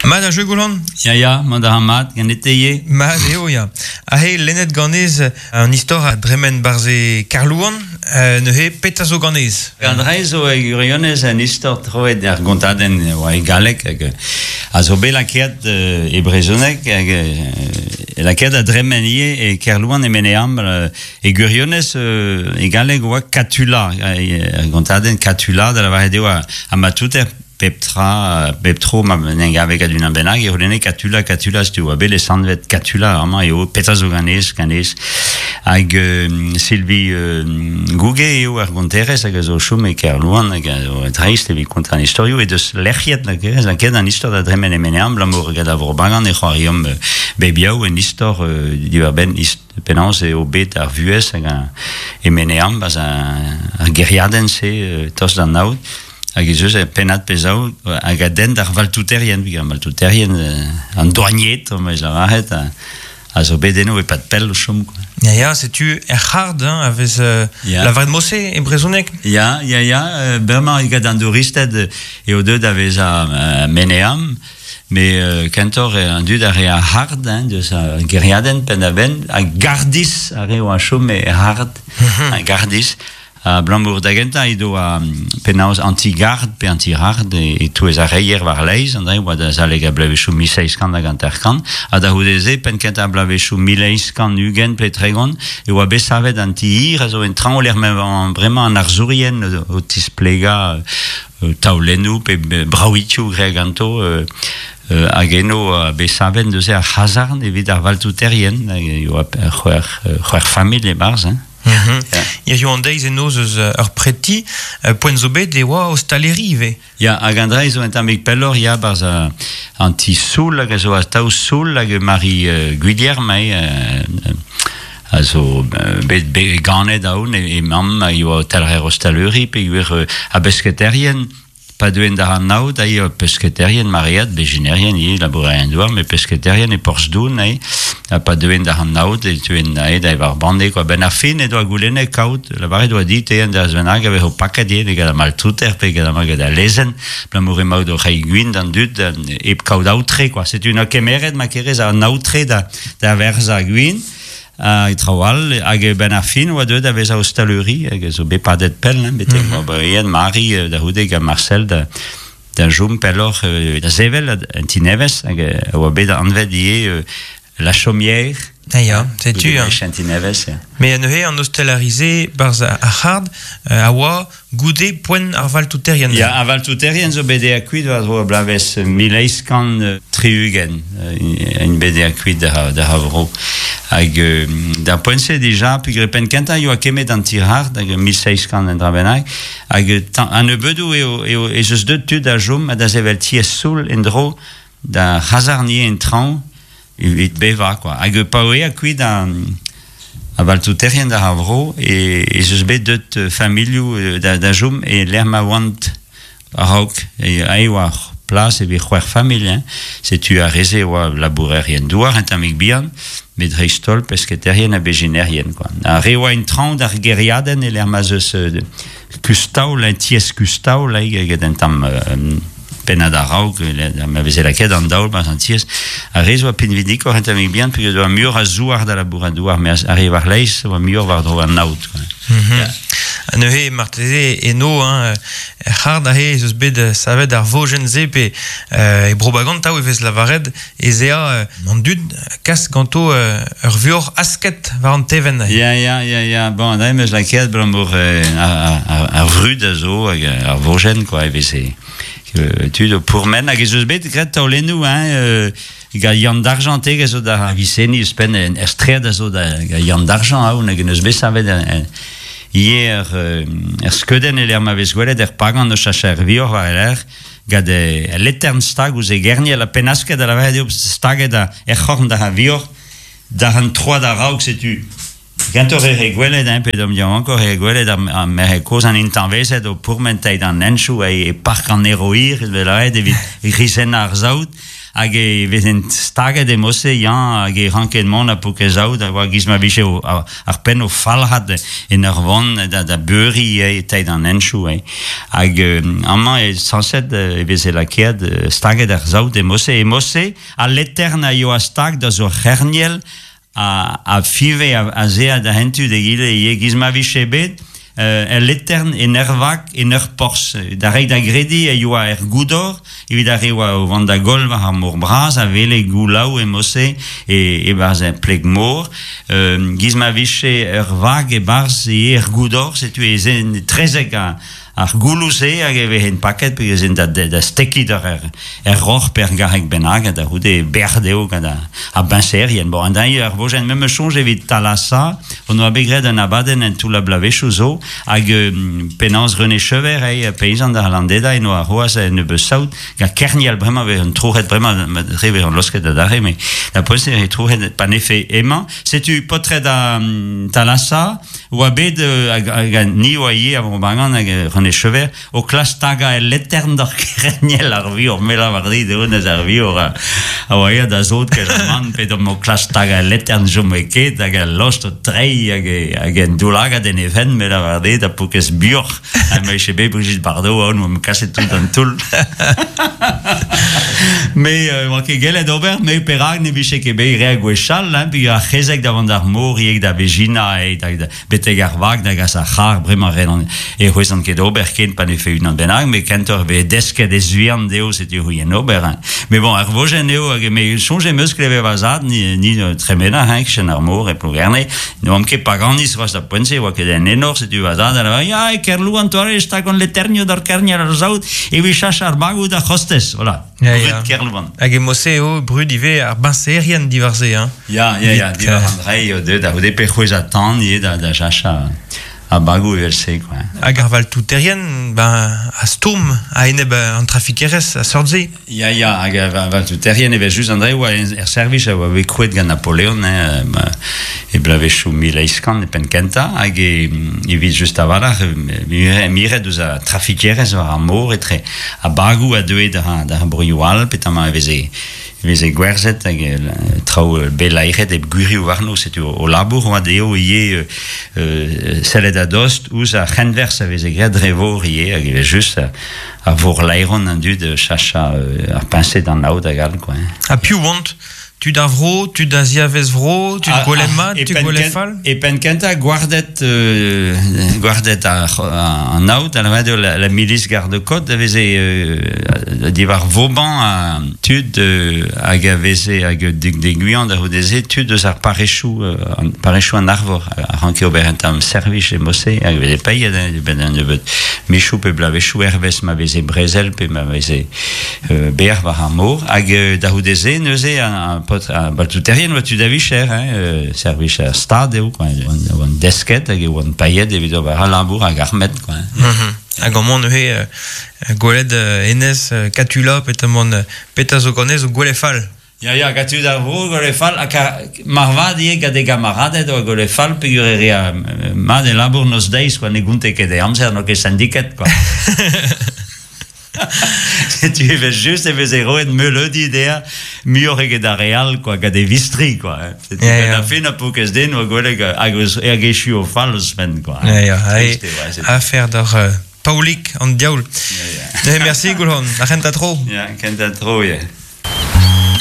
Mat a jeu Golan? Ya, ya, mat a ra mat, ganete ivez. Mat eo, ya. Aze, lennet ganez an istor a dremen barzh e Kerlouan, neuze petra zo ganez? An dra zo e gwirionez un istor troet er gontadenn oa e galleg hag a zo bet lakaet e brezhoneg hag lakaet da dremen ivez e Kerlouan e Meneam. E gwirionez e galleg oa Katula, ar gontadenn Katula da lavaret eo ha ma touter Pep tra, bep tro ma en em gave gant unan bennak e c'houlenne Katula, Katula, setu oa bet lesanvet Katula amañ eo petra zo ganez, ganez. Hag Sylvie Gouge eo ar gonterez hag a zo o chom e Kerlouan hag a zo dreist evit kontañ an istorioù he deus lec'hiet lakaet an istor da dremen e Menean abalamour gant ar Vro-Bagan e c'hoariomp bep yaou un istor diwar-benn penaos eo bet ar vuhez hag e Menean 'barzh ar gêriadenn-se tost d'an aod. Hag ez eus ur pennad pe zaou hag a denn d'ar valtouterien, ar valtouterien, an douanied, on eus lavaret, a zo bet eno e-pad pell o chom. Quoi. Ya, ya, setu er c'hard hein, a vez Ya. lavaret mose e brezhoneg. Ya, ya, ya, bremañ gant an douristed eo deuet da vezañ Meneam, met kentoc'h an dud a rea hard hein, deus ar gêriadenn penn-da-benn, ha gardis ar re oa chom e hard, ha gardis. Abalamour da gentañ edo penaos anti-gard pe anti-hard e-touez ar reier war-laez, an dra oa da azalek ar bloavezhioù 1750, ha da c'houde-se, penn-kentañ ar bloavezhioù 1820 pe 30, e oa bet savet an ti-hir a zo en traoñ lec'h m'emañ bremañ an arzourien o tisplegañ taolennoù pe bravitioù graet ganto hag eno bet savet neuze ar c'hazarn evit ar valtouterien, e oa c'hwec'h familh e-barzh. Hein. Hiziv an deiz eno eus ur preti, poent zo bet e oa ostaleri ivez. Ya, hag an dra zo un tammig pelloc'h, ya, barzh an ti soul hag a zo atav soul hag Marie Gwilherm eo a zo bet, bet ganet aon e, e mamm a yoa talc'her ostaleri peogwir a besketerien Pa deuent da anaout ae pesketerien maread, bezhinerien ivez, labourerien-douar, met pesketerien e Porzh-Doun ae, ha pa deuent da anaout e teuent ae da evañ ar banne kwa. Benn ar fin he doa goulennet kaout, lavaret oa dit un dervezh bennak a vezo paket ivez gant ar maltouter pe gant gant al lezenn, abalamour emaout o reiñ gwin d'an dud hep kaout aotre kwa. Setu 'noa kemeret ma kerez an aotre da, da verzañ gwin. Hag traoù all, hag benn ar fin oa deuet da vezañ ostaleri, hag a zo bet padet pell, hein, betek mm -hmm. Mari da c'houde gant Marcel da, da chom pelloc'h da sevel un ti nevez, hag a oa bet anvet ivez La Chaumière. Ah ya, setu. Hein. Ti nevez, ya. Mais neuze an ostelari-se barzh ar c'hard a oa Goude poent ar valtouterien. Ya, ar valtouterien zo bet eat kuit war-dro ar bloavezh 1860, int bet eat kuit da, da vro. Hag d'ar poent-se dija, peogwir penn kentañ e oa kemmet an tirhard, hag 1700 un dra bennak, hag a-nebeudoù eo, eo ez eus deuet tud da chom ha da sevel tiez soul en-dro da c'hazarnier en traoñ evit bevañ quoi. Hag pa oa eat kuit an a valtouterien d'ar vro e, ez eus bet deut familhoù da, da chom e lec'h ma oant a-raok. E, e oa plas evit c'hwec'h familh. Hein. Setu ar re-se oa labourerien douar un tammig bihan, met dreist-holl pesketerien ha bezhinerien. Quoi. Ar re oa en traoñ d'ar gêriadenn e lec'h ma 'z eus kustaol, un tiez kustaol, get un tamm pennad a-raok, ma veze lakaet an daol barzh an tiez. Ar re zo pinvidikoc'h un tammig bihan, peogwir oa muioc'h a zouar da labourat douar, met ar re war-laez oa muioc'h war-dro an aod. Quoi. Mm -hmm. yeah. Neuze, marteze, eno, hein, er c'hard aze ez eus bet savet ar vojenn-se pe e Bro-Bagan tav e vez lavaret ez ea an dud kas ganto ur vuoc'h asket war an tevenn. Ya, ya, ya, ya. Bon, da em eus lakaet abalamour ar vrud a zo hag ar vojenn, quoi, e veze tud o pourmen hag ez eus bet graet taolennoù, hein, gant Yann Dargent a zo da Viseni ouzhpenn er straed a zo da Yann Dargent aon hag en eus bet savet ivez er skeudenn e lec'h ma vez gwelet er pagan o chachañ er vioc'h war e lerc'h gant e letern stag ouzh e gerniel ha pennasket da lavaret eo staget er c'horn da vioc'h da an troad a-raok setu. Kentoc'h e re gwelet, hein, pe d'am yaouankoc'h e re gwelet ar, ar merc'hed kozh an intañvezed o pourmen teid an henchoù e, e park an Eroir, evel aet evit rizennañ ar saout, hag e vezent staget e mose, ya, hag e ranket mont ha poket saout, a oa giz ma vije o, ar penn o falc'hat en ur vont da, da beuriñ e teid an henchoù. Eh. Hag amañ e sañset e veze lakaet staget ar saout e mose. E mose, al letern a yoa stag da zo c'herniel a five az ea da hentu d'egile ivez giz ma vije bet el letern en ur vag en ur porzh. Da reiñ da grediñ e yoa er goudor evit ar re oa o vont da goll war ar mor bras a wele goulaou e mod-se e-barzh er pleg-mor. Giz ma vije ur vag e-barzh ivez er goudor, setu ez etrezek ar gouloù-se hag e vezent paket pe vezent da, da stekiñ d'ar er, er roc'h pe er garreg bennak ha da c'houde berr dezho gant ar biñserien. Bon, an deiz ar vojenn memes soñj evit Thalassa, on oa bet graet un abadenn en toull a bloavezhioù zo hag penaos René Chever, eh, peizant ar Landeda, en oa c'hoazh un nebeud saout gant kerniel bremañ vez un trouc'het bremañ re vez losket adarre mais da poent e trouc'het pa nefe emañ. Setu paotred a Thalassa oa bet hag ni oa ivez a Vro-Bagan hag René Chever o klask tagañ el letern d'ar kerniel ar vior me lavar dit eo neus ar vior a oa aet da zot ket man pet omp o klask tagañ el letern chome ket hag al lost o treiñ hag hag en doulagad en e fenn me lavar dit ha poukez bioc'h ha ma eche bet Brigitte Bardot aon oamp kaset tout an toull Me oa ket gellet ober, me perak ne vije ket bet graet gwechall, hein, peogwir ar c'hezeg da vont d'ar mor ivez da vezhina, da, betek ar vag da gas ar c'harr, bremañ ret e c'hwezan ket ober ken pa ne fe unan bennak, met kentoc'h e vez desket ez vihan dezho, setu c'hwi en ober. Hein. Mais bon, ar vojenn eo, hag me soñj em eus klevet va zad, ni, ni tremena, hein, kichen ar mor e Plougerne, ne oamp ket paganiz c'hoazh da poent-se, oa ket en enor, setu va zad, a lavar, ya, e Kerlouan toare, e stag an leternioù d'ar kerniel ar saout, evit chach ar bagoù d'ar c'hostez, voilà. Ya, ya. Brud Kerlouan. Hag e mod-se eo brud ivez ar biñserien diwar-se, hein. Ya, ya, ya, diwar an dreiñ eo deuet da c'houde pe c'hwezhañ tan ivez da, da jachañ ar bagoù evel-se, quoi. Hag ar valtouterien, ben, a stourm a-enep an trafikerezh a seurt-se. Ya, ya, hag ar valtouterien evel-just an dre oa er servij a oa bet krouet gant Napoleon hein, e bloavezhioù 1800 e penn kentañ hag e, evit just a-walc'h miret eus ar trafikerezh war ar mor etre ar bagoù a deue d'ar broioù all petamant e veze e veze gwerzhet hag traoù bet laeret hep gwirioù warno setu o labour oa dezho ivez sellet a-dost ouzh ar c'henwerzh a veze graet dre vor ivez hag evel-just ar vorlaeron an dud chachañ ar peñse d'an aod hag all quoi. Ha piv oant? Tud ar vro, tud a ziavez vro, tud gwelet mat, tud gwelet fall? E penn kentañ gwarded gwarded an aod, a lavaret eo la, la milice garde-côte a veze diwar Vauban ha tud hag a veze hag deguiañ da c'houde-se tud eus ar parrezioù parrezioù an Arvor a ranke ober un tamm servij e mod-se hag e veze paeet benn un nebeud michoù pe bloavezhioù hervez ma veze brezel pe ma veze berr war ar mor hag da c'houde-se neuze ar paotr ar baltouterien oa tud a vicher hein, servij ar stad eo quoi oant desket hag e oant paeet evit ober al labour hag armet quoi. Hag amañ neuze gwelet hennezh Katula petamant petra zo ganez zo gwelet fall. Ya, ya, gant tud ar vro, gwelet fall, ha marvat ivez gant e gamaraded oa gwelet fall peogwir e rea mat e labour noz-deiz, quoi, ne gonte ket e amzer, n'oa ket syndiket, quoi. Setu evel-just e veze roet meuleudi dezhañ muioc'h eget ar re all, quoi, gant e vistri, quoi. Setu Ya, ya. gant ar fin a pokez den oa gwelet hag hag echu o fall ouzhpenn, quoi. Ya, ya, Trist eo, ouais, setu. Afer d'ar Paolig an diaoul. Ya, ya. Merci, Goulc'han, ar c'hentañ tro. Ya, kentañ tro, ya.